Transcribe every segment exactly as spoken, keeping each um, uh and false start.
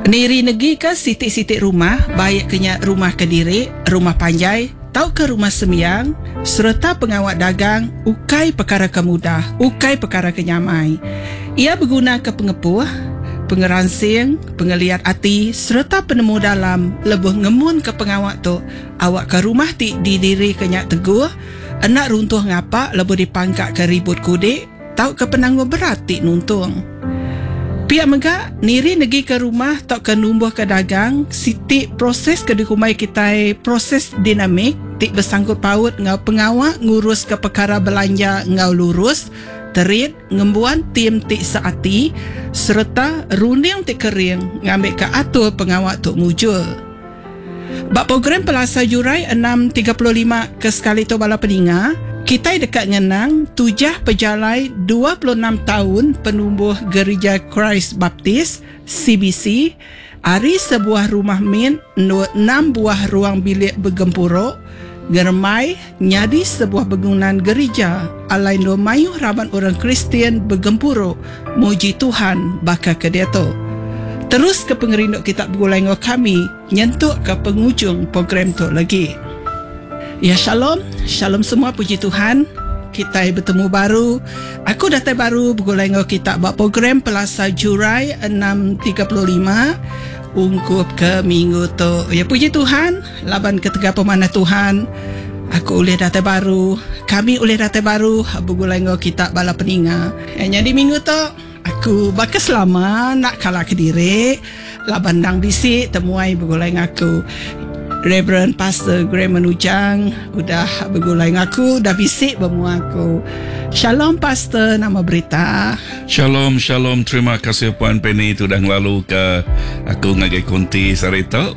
Niri negika siti-siti rumah, baik ke nya rumah kediri, rumah panjai tauka rumah sembiang sereta pengawa dagang ukai pekara ke mudah, ukai pekara ke nyamai. Iya begunaka pengepuh, pengeransing, pengeliat ati sereta penemu dalam lebuh ngemunka pengawa tu awakka rumah ti didirika nya teguh, enda runtuh ngapa lebuh dipangkaka ribut kudik tauka penanggul berat ti nuntung. Pia mega, niri negika rumah tauka numbuhka dagang siti proses ke dikumbai kitai proses dinamik ti besangkut paut enggau pengawa nguruska pekara belanja enggau lurus, terit, ngembuan tim ti seati sereta runding ti kering ngambika atur pengawa tu mujur. Ba program Pelasar Jurai enam tiga puluh lima ke sekali tu bala peninga, kitai deka ngenang tujah pejalai dua puluh enam taun penumbuh Gerija Christ Baptist C B C ari sebuah rumah min enam buah ruang bilik begempuru ngeremai nyadi sebuah bangunan gerija alai endur mayuh raban orang Kristian begempuru muji Tuhan baka ke diatu. Terus ke pengerindu kita begulai enggau kami nyentuk ke pengujung program tu lagi. Ya, shalom. Shalom semua, puji Tuhan. Kita bertemu baru. Aku datai baru begulai enggau kita ba program Pelasar Jurai enam tiga puluh lima ungkup ke minggu tu. Ya, puji Tuhan, laban ketiga pemanah Tuhan, aku ulih datai baru, kami ulih datai baru begulai enggau kita bala peninga. Ya, jadi minggu tu aku baka selama nak kalah ke diri laban dang bisi temuai begulai ngaku. Reverend Pastor Graham Ujang udah begulai ngaku, udah bisi bermua aku. Shalom Pastor, nama berita? Shalom, shalom. Terima kasih Puan Penny tu dah ngelalu ke aku ngagai konti sehari tu.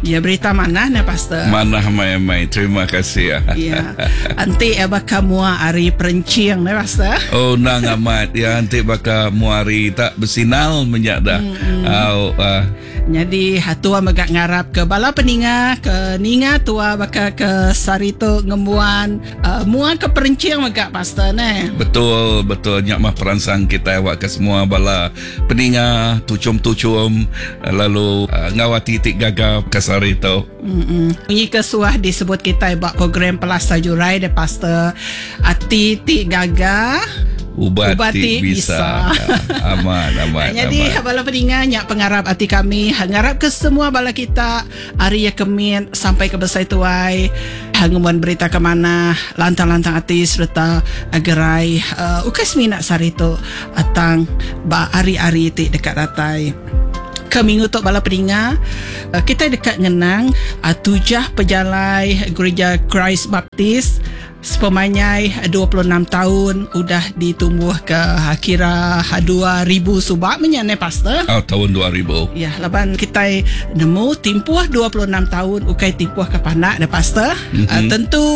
Ya, berita mana ni Pastor? Mana mai-mai. Terima kasih. Ya. Anti ya baka mua hari perencing ni Pastor. Oh, nang amat. Ya, anti baka mua hari tak bersinal menyak dah. Mm-hmm. Oh, uh. Jadi tua megak ngarap ke bala peninga ke ninga tua baka ke sari tu ngembuan uh, mua ke perencing megak Pastor ne. Betul, betul. Nyak mah peransang kita awak ke semua bala peninga tucum-tucum lalu uh, ngawati tik gagap ke sari tu. Mm-mm. Ini kesuah disebut kita bak program Pelasar Jurai de Pastor ati tik gagah ubat ti bisa. Aman, aman. Jadi aman. Bala peninga nyak pengarap hati kami, ngarap ke semua bala kita hari ya kemin sampai ke besai tuai, ngemuan berita ke mana, lantang-lantang hati serta gerai uh, ukai semina sehari tu atang ba hari-hari ti dekat datai. Ke minggu tu bala peninga kita dekat ngenang tujah pejalai Gereja Christ Baptist sepemanjai dua puluh enam tahun udah ditumbuh ke kira dua ribu subak menyane Pastor. Oh, tahun dua ribu. Ya, laban kita nemu timpuh dua puluh enam tahun ukai timpuh ke panak ne Pastor. Mm-hmm. Uh, tentu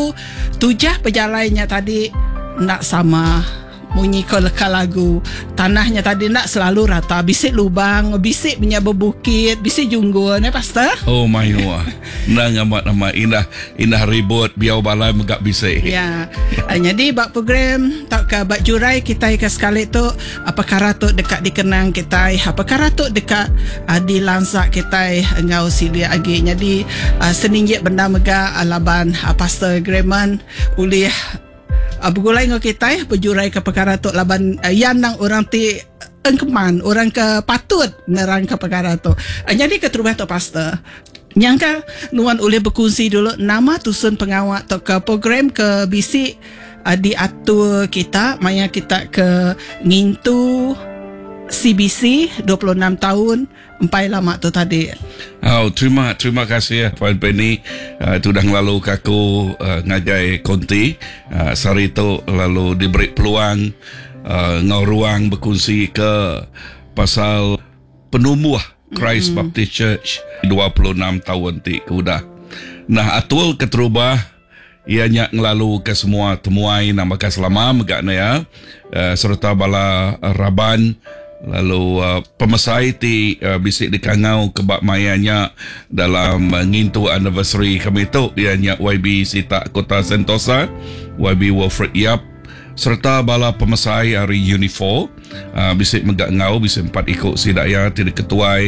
tujah pejalainya tadi nak sama munyi ke leka lagu. Tanahnya tadi nak selalu rata, bisik lubang, bisik punya berbukit, bisik junggul ne Pastor. Oh my wah. Nang amat amat indah indah ribut biau balai megak bisik. Ya. Jadi bab program tak ke bab jurai kita ke sekali tu perkara tu dekat dikenang kita, perkara tu dekat uh, dilansak kita engau silia agi. Jadi uh, seninjik benda mega uh, laban uh, Pastor Graham ulih Uh, bergulai dengan kita berjurai ke perkara tu laban uh, yang nang orang ti engkeman orang ke patut nerang ke perkara tu. Uh, jadi ke terubah tu Pastor. Nyangka nuan boleh berkongsi dulu nama tusun pengawak atau ke program ke bisi uh, diatur kita maya kita ke ngintu C B C dua puluh enam tahun empai lama tu tadi. Oh, terima terima kasih ya Puan Penny uh, tu dah ngelalu ke aku uh, ngagai konti uh, sehari tu lalu diberi peluang uh, ngau ruang berkongsi ke pasal penumbuh Christ mm-hmm. Baptist Church dua puluh enam tahun ti ke udah. Nah, atul keterubah ia nyak ngelalu ke semua temuai nama ke selama megak na ya uh, serta bala raban lalu uh, pemesai ti uh, bisik dikangau ke bak mayanya dalam uh, ngintu anniversary kami tu ianya Y B Sita Kota Sentosa, Y B Wilfred Yap Serta bala pemesai ari Unifor uh, bisi mega ngau bisi empat ikut sidak ya ti diketuai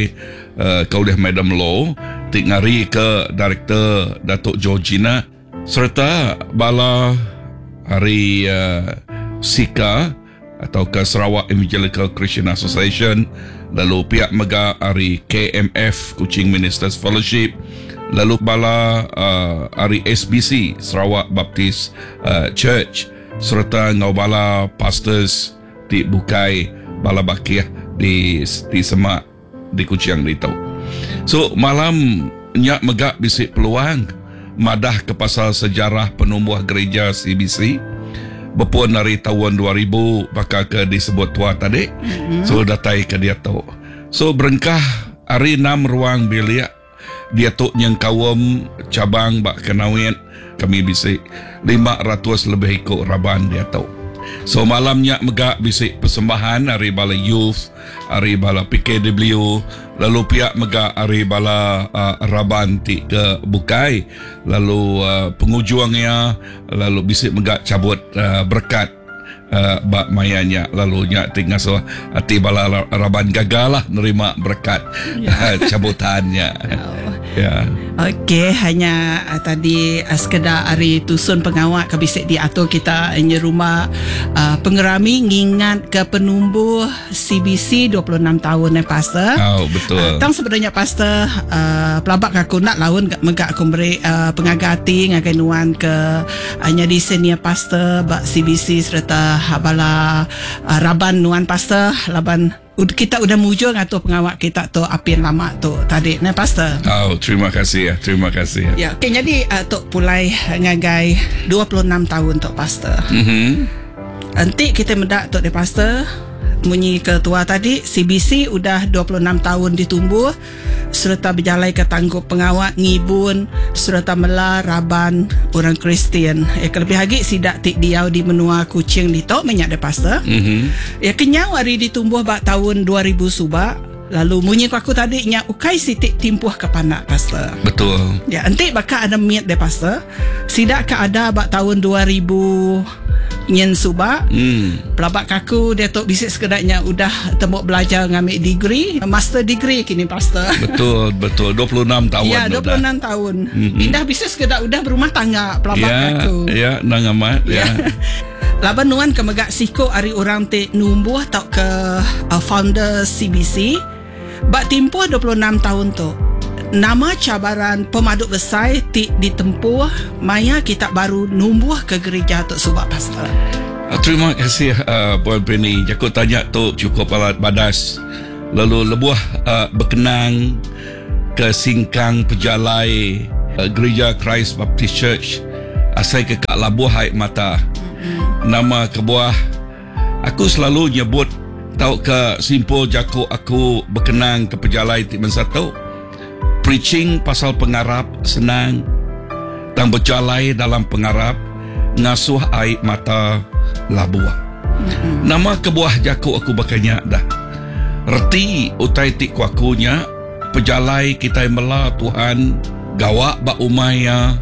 uh, ke oleh Madam Law ti ngari ke Director Datuk Georgina serta bala hari uh, Sika atau ke Sarawak Evangelical Christian Association, lalu pihak mega hari K M F Kuching Ministers Fellowship, lalu bala uh, hari S B C Sarawak Baptist uh, Church serta ngau bala pastors di bukai bala bakih di di semak di Kuching ditu. So malam nyak mega bisi peluang madah ke pasal sejarah penumbuh gereja C B C berpun dari tahun dua ribu bakal ke disebut tua tadi. Mm-hmm. So datai ke dia tu. So berengkah hari enam ruang bilik dia tu nyengkawam cabang bak Kenawit kami bisi lima ratus lebih ikut raban dia tu. So malamnya mega bisi persembahan hari bala youth, hari bala P K W, lalu pihak mega hari bala uh, raban ti ke bukai, lalu uh, pengujuangnya lalu bisi mega cabut uh, berkat uh, bak mayanya, lalu nya ti ngasuh ati bala raban gagal lah nerima berkat yeah. cabutannya. Oh. Ya. Okey, hanya uh, tadi uh, sekedar hari tusun pengawak ke bisik diatur kita ini rumah uh, pengerami ngingat ke penumbuh C B C dua puluh enam tahun eh pastor. Oh, betul. Uh, tang sebenarnya pastor uh, pelabak aku nak laun megak aku beri uh, pengagati ngagai nuan ke uh, nyadi senior pastor bak C B C serta bala uh, raban nuan pastor laban kita udah mujur ngatur pengawak kita tu apin lama tu tadi nah pastor. Oh, terima kasih ya, terima kasih. Ya, okey jadi uh, tok pulai ngagai dua puluh enam tahun tok pastor. Mhm. Nanti kita mendak tok de pastor munyi ketua tadi C B C udah dua puluh enam tahun ditumbuh serta berjalai ke tanggup pengawak ngibun serta mela raban orang Kristian. Ya kelebih lagi sidak tik diau di menua Kuching ditok minyak de pastor. Mhm. Ya kenyau hari ditumbuh bak tahun dua ribu subak. Lalu munyi aku tadi nya ukai sitik timpuh ke panak pastor. Betul. Ya entik bakal ada miat de pastor. Sidak ke ada bak tahun dua ribu nyen subak. Hmm. Pelabak kaku dia tok bisik sekedaknya udah tembok belajar ngambil degree, master degree kini pastor. Betul, betul. dua puluh enam tahun. Ya, dua puluh enam tahun. Mm-hmm. Indah bisik sekedak udah berumah tangga pelabak ya, kaku. Ya, nang amat ya. Ya. Laban nuan ke megak siko ari orang te numbuh tau ke uh, founder C B C. Bak timpuh dua puluh enam tahun tu. Nama cabaran pemaduk besar ti ditempuh maya kita baru numbuh ke gereja tok subak pastor. Terima kasih uh, Puan Penny. Aku tanya tu cukup alat badas. Lalu lebuh uh, berkenang ke singkang pejalai uh, Gereja Christ Baptist Church asai ke kak labuh air mata. Mm-hmm. Nama kebuah aku selalu nyebut tau ke simpul jako aku berkenang ke pejalai ti mensatu. Preaching pasal pengarap senang, tang berjalai dalam pengarap ngasuh air mata labuh. Mm-hmm. Nama kebuah jako aku bakanya dah. Reti utai ti ku akunya pejalai kita mela Tuhan gawak ba umaya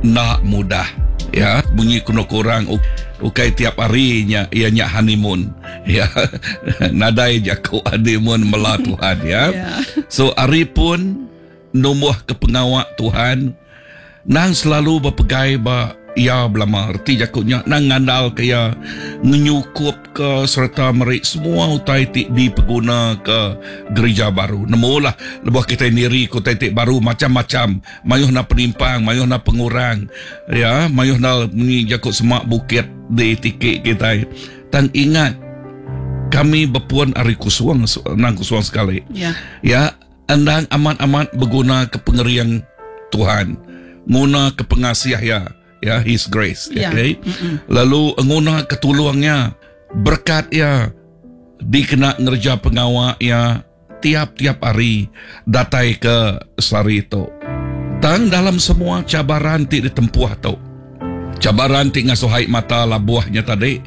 nak mudah. Ya, bunyi kuno kurang ukai tiap hari nya ia nya honeymoon. Ya. Nadai jako honeymoon mela Tuhan ya. Yeah. So ari pun numbuh ke pengawak Tuhan nang selalu berpegai ba ia belama reti jakutnya nang ngandal ke ia ngenyukup ke serta merik semua utai ti dipeguna ke gereja baru. Nemulah lebuh kita niri ke utai ti baru macam-macam, mayuh na penimpang, mayuh na pengurang ya, mayuh na ni jakut semak bukit di tikik kita. Tang ingat kami berpuan ari kusuang nang kusuang sekali. Ya. Ya, endang amat-amat berguna ke pengeriang Tuhan, nguna ke pengasih ya. Ya, His grace. Ya. Okay. Mm-mm. Lalu nguna ketulungnya, berkat ya, dikena ngerja pengawak ya tiap-tiap hari datai ke sehari itu. Tang dalam semua cabaran ti ditempuh tu. Cabaran ti ngasuh mata labuhnya tadi.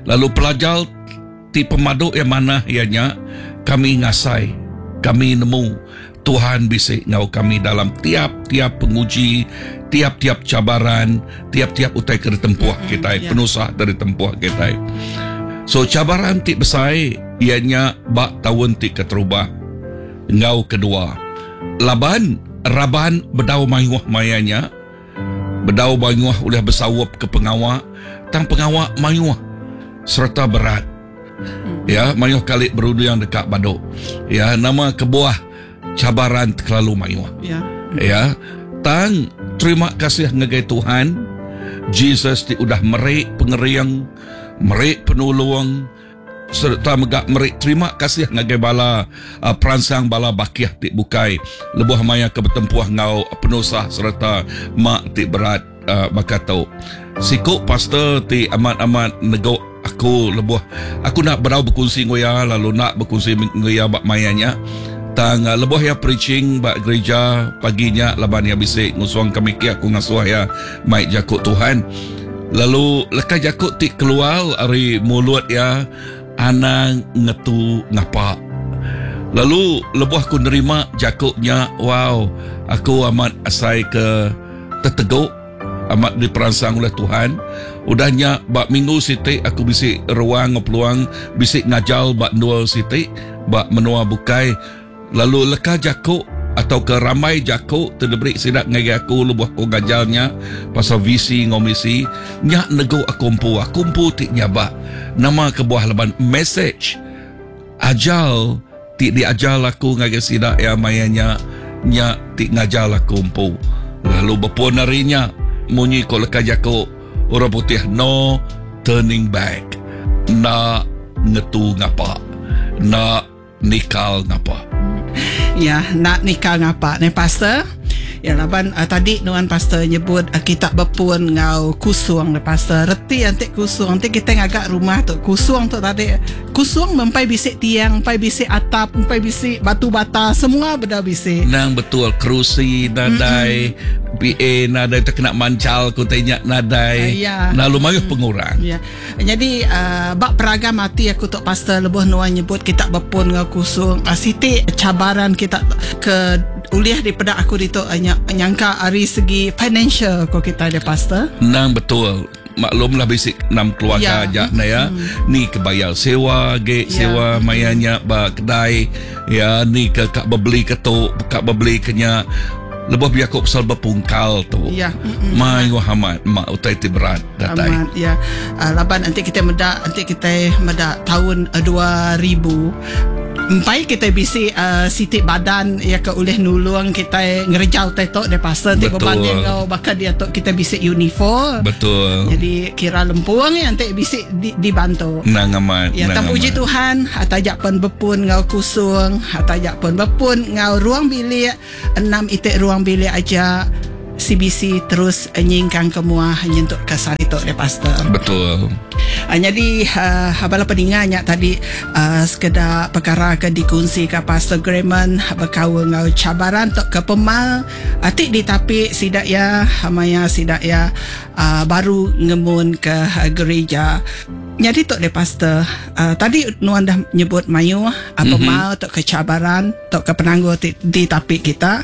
Lalu pelajar ti pemaduk yang mana ianya kami ngasai, kami nemu Tuhan bisik ngau kami dalam tiap-tiap penguji, tiap-tiap cabaran, tiap-tiap utai ke ditempuh mm-hmm, kita, yeah. penusah dari tempuh kita. So cabaran ti besar ianya bak tahun ti keterubah ngau kedua. Laban raban bedau mayuh mayanya, bedau mayuh oleh bersawap ke pengawak, tang pengawak mayuh serta berat. Mm. Ya, mayuh kali berudu yang dekat baduk. Ya, nama kebuah cabaran terlalu mayuh. Ya. Ya, tang terima kasih ngagai Tuhan Jesus ti udah merik pengeriang, merik penolong serta megak merik terima kasih ngagai bala uh, peransang bala bakiah ti bukai lebuh maya ke bertempuh ngau penusah serta mak ti berat uh, baka tu. Siku pastor ti amat-amat negok aku lebuh aku nak berau berkongsi ngoya lalu nak berkongsi ngoya bak mayanya. Tang uh, lebuh ya preaching bak gereja paginya laban ya bisik ngusuang kami ki aku ngasuh ya mai jakuk Tuhan. Lalu leka jakuk ti keluar ari mulut ya anang ngetu ngapa. Lalu lebuh aku nerima jakuknya, wow, aku amat asai ke terteguk, amat diperangsang oleh Tuhan. Udahnya bak minggu siti aku bisik ruang peluang bisik ngajal bak dua siti bak menua bukai. Lalu leka jakuk atau ke ramai jakuk terdebrik sidak ngagai aku lebuh aku ngajalnya pasal visi ngomisi nyak nego aku empu aku empu ti nyabak nama kebuah leban message ajal ti diajal aku ngagai sidak ya mayanya nyak ti ngajal aku empu. Lalu berpun harinya munyi ko leka jakuk orang putih no turning back, nak ngetu ngapa, nak nikal ngapa. Ya, nak nikah ngapa ni pastor? Ya laban uh, tadi nuan pastor nyebut uh, kita berpun ngau kusung le pastor. Reti antik kusung, antik kita ngagak rumah tu kusung tu tadi. Kusung mempai bisik tiang, mempai bisik atap, mempai bisik batu bata, semua benda bisik. Nang betul kerusi nadai, mm-hmm. P A nadai terkena mancal ku tanya nadai. Uh, ya. Lalu mayuh pengurang. Ya. Jadi uh, bak peragam mati aku tok pastor lebuh nuan nyebut kita berpun ngau kusung. Uh, siti cabaran kita ke uliah daripada aku itu uh, nyangka ari segi financial ko kita ada pastor. Nang betul. Maklumlah basic enam keluarga aja ya. Na ya. Hmm. Ni kebayar sewa ge ya. Sewa mayanya ba kedai ya ni ke kak beli ke tu kak beli kenya lebih biar kok pasal berpungkal tu. Ya. Mai amat mak utai ti berat datai. Amat ya. Uh, laban nanti kita medak nanti kita medak tahun uh, dua ribu empai kita bisi uh, sitik badan ya ke oleh nulung kita ngerjau tetok de pasal ti berbanding kau bakal dia tok kita bisi uniform. Betul. Jadi kira lempung ya nanti bisi di, dibantu. Nang amat. Ya tak puji Tuhan atajak pun bepun ngau kusung, atajak pun bepun ngau ruang bilik enam itik ruang bilik aja C B C terus nyingkang ke muah nyentuk ke sari tok de pastor. Betul. Uh, jadi uh, bala peninganya tadi uh, sekedar perkara ke dikongsi ke Pastor Grayman berkaul ngau cabaran tok ke pemal atik ditapi sidak ya maya sidak ya uh, baru ngemun ke uh, gereja. Jadi tok de pastor uh, tadi nuan dah nyebut mayu apa mm-hmm. mal tok ke cabaran tok ke penanggul ditapi kita.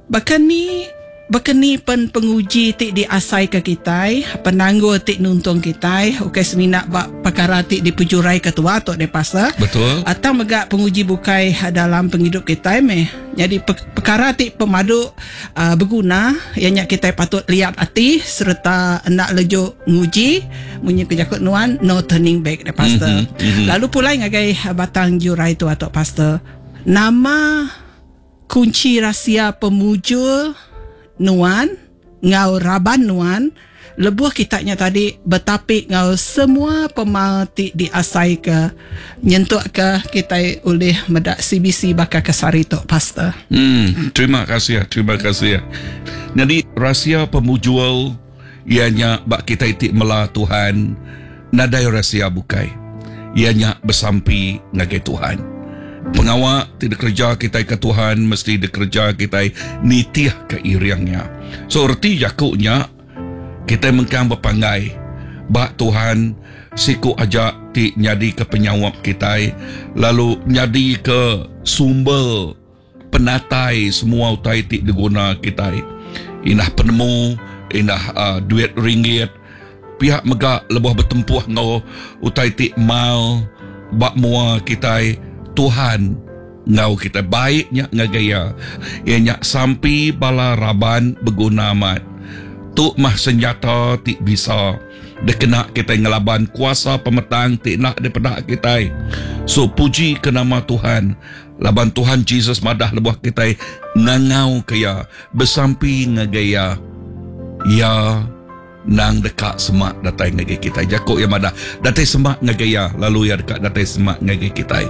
Bahkan ni Bekeni pen penguji ti diasai ke kitai, penanggul ti nuntung kitai, okey semina bak perkara ti dipejurai ketua tok de pastor. Betul. Atau megak penguji bukai dalam penghidup kitai meh. Jadi pe- perkara ti pemadu uh, berguna ianya kitai patut lihat hati serta hendak lejuk nguji munyi kejakut nuan no turning back de pastor. Mm-hmm, mm-hmm. Lalu pulai ngagai batang jurai tu atok pastor. Nama kunci rahsia pemujur nuan ngau raban nuan lebuh kitanya tadi betapik ngau semua pemal ti diasai ke nyentuk ke kita oleh medak C B C bakal ke sari tok pastor. Hmm, terima kasih, terima kasih. Jadi rahsia pemujual ianya bak kita itik mela Tuhan nadai rahsia bukai. Ianya bersampi ngagai Tuhan. Pengawak tidak kerja kita ke Tuhan mesti dikerja kita nitih ke iriangnya. So erti jakuknya kita mengkang berpanggai bak Tuhan siku ajak ti nyadi ke penyawap kita lalu nyadi ke sumber penatai semua utai ti diguna kitai. Indah penemu, indah uh, duit ringgit, pihak mega lebuh bertempuh ngau utai ti mal bak mua kitai, Tuhan ngau kita baiknya ngagai ya. Ia nyak sampi bala raban beguna amat. Tu mah senjata ti bisa dikena kita ngelaban kuasa pemetang ti nak daripada kita. So puji ke nama Tuhan. Laban Tuhan Jesus madah lebuh kita ngangau ke ya, bersampi ngagai ya. Ya nang dekat semak datai ngagai kita. Jakuk ya madah datai semak ngagai ya, lalu ya dekat datai semak ngagai kita.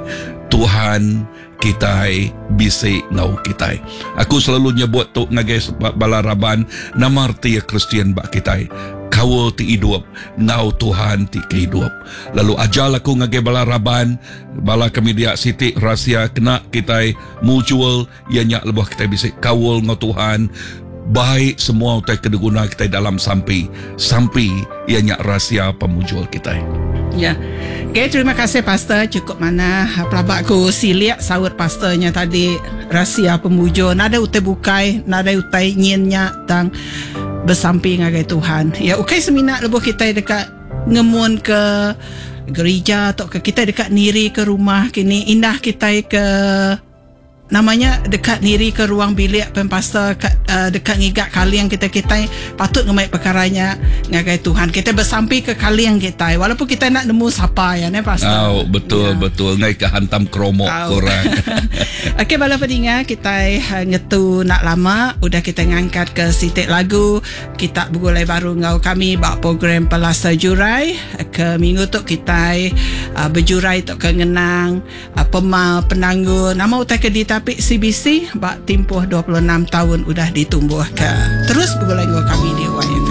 Tuhan kitai bisi ngau kitai. Aku selalu nyebut tu ngagai bala raban nama erti Kristian bak kitai. Kawal ti hidup ngau Tuhan ti kehidup. Lalu ajar aku ngagai bala raban, bala kami dia siti rahsia kena kitai mutual ianya lebuh kitai bisi kawal ngau Tuhan. Baik semua utai kedeguna kita dalam sampi. Sampi ianya rahsia pemujul kita. Ya. Okay, terima kasih pastor, cukup mana pelabakku siliak saut pastornya tadi rahsia pemujur. Nada utai bukai, nada utai nyinnya tang bersampi ngagai Tuhan. Ya, okey semina lebuh kita dekat ngemun ke gereja atau ke kita dekat niri ke rumah kini indah kita ke namanya dekat niri ke ruang bilik pempasta uh, dekat ngigak kaliang kita kita patut ngemaik perkaranya ngagai Tuhan. Kita bersampi ke kaliang kita walaupun kita nak nemu siapa ya ne pastor. Oh, betul ya. Betul ngai ke hantam kromok oh. Korang. Okey bala pendengar kita uh, ngetu nak lama udah kita ngangkat ke sitik lagu kita bergulai baru ngau kami bak program Pelasa Jurai ke minggu tu kita uh, berjurai tok ke ngenang uh, pemal penanggul nama utai ke dita tapi C B C bak tempoh dua puluh enam tahun udah ditumbuh ke. Terus bergulai dengan kami di Y F M.